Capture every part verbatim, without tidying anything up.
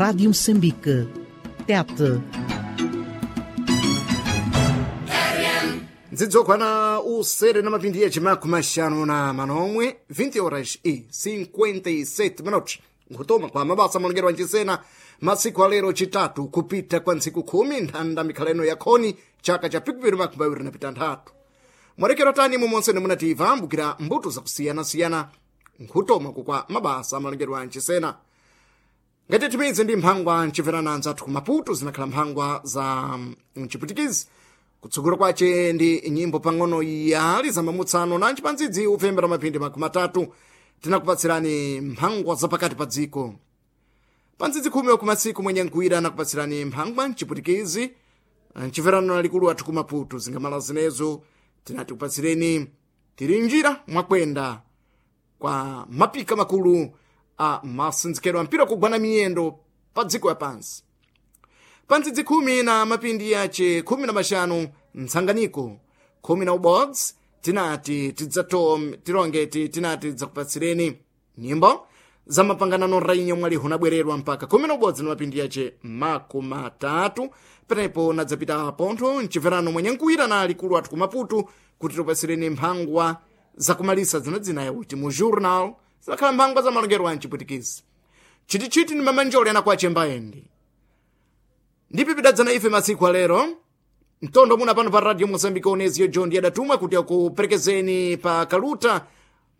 Rádio Moçambique. Tete. Nzidzokwana usere na mapindi ya chimakumi axanu na manomwe vinte horas e cinquenta e sete minutos, nkutoma kwa mabasa malongerwa nchisena masiku alero chitatu kupita kwa ntsiku khumi nthanda mikhaleno ya khoni chaka cha pikupiri makumi awiri na pitanthatu. Mwarekero tani mumonse nimunativa ambukira mbuto zakusiyanasiyana nkhutoma kukwa mabasa malongerwa nchisena. Ngati timidzi ndi mphangwa ncimverana anzathu ku Maputo, zinakhala mphangwa za mchiputikizi. Kutsogolo kwace ndi nyimbo pang'ono yali za mamutsano na ncipanzidzi upfembera mapindi makumi atatu tinakupatsirani mphangwa zapakati pa dziko. Pa ndzidzi khumi wakumasiku mwenye nkuwira anakupatsirani mphangwa mchiputikizi mcimverano na likulu athu ku Maputo. Zingamala zinezo tinati kupatsireni tiri njira mwakwenda kwa mapika makulu a masinzikelo a mpira kugwana miyendo pa dziko ya pansi. Pa ndzidzi khumi na mapindi yace khumi na maxanu ntsanganiko khumi na ubodzi tinati tidzato tilongeti tinati tidzakupatsireni nyimbo za mapanganano rainyo mwalihu nabwererwa mpaka khumi na ubodzi na mapindi yace makumi atatu. Penepo nadzapita pontho mcimverano mwenye nkuwira na alikulu athu ku Maputo kuti tipatsireni mphangwa zakumalisa zinadzina yakuti mu journal, zinakhala mphangwa za malongero a mchipwitikizi. Chitichiti ni mamanjoli anakwache mbayendi ndipi pidadzana ife masiku alero mtondo muna pano pa Radio Mozambique. Oneziyo John adatumwa kuti akuperekezeni pa kaluta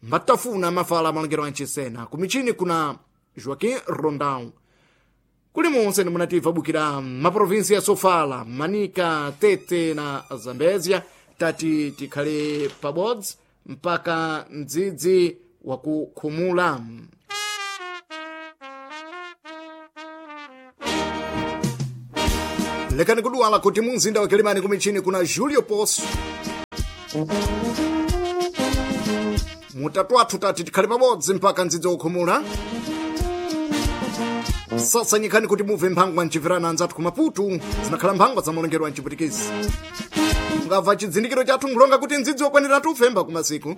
mbatafuna mafala malongero anchisena. Kumichini kuna Joaquim Rondão. Kuli monse nimunativa bukira maprovinsi ya Sofala, Manika, Tete na Zambezia, tati tikhale pabodzi mpaka mdzidzi wakukhumula. Lekani kuduwala kuti mumzinda wa Kilimani kumichini kuna Julio Poço. Mutatu athu tati tikhale pabodzi mpaka mdzidzi wakukhumula. Sasanyikhani kuti mubve mphangwa mcimverana anzathu ku Maputo, zinakhala mphangwa za malongero a mchipwitikizi. Mungabva chidzindikiro chathu nkulonga kuti mdzidzi wakwanira tufemba kumasiku.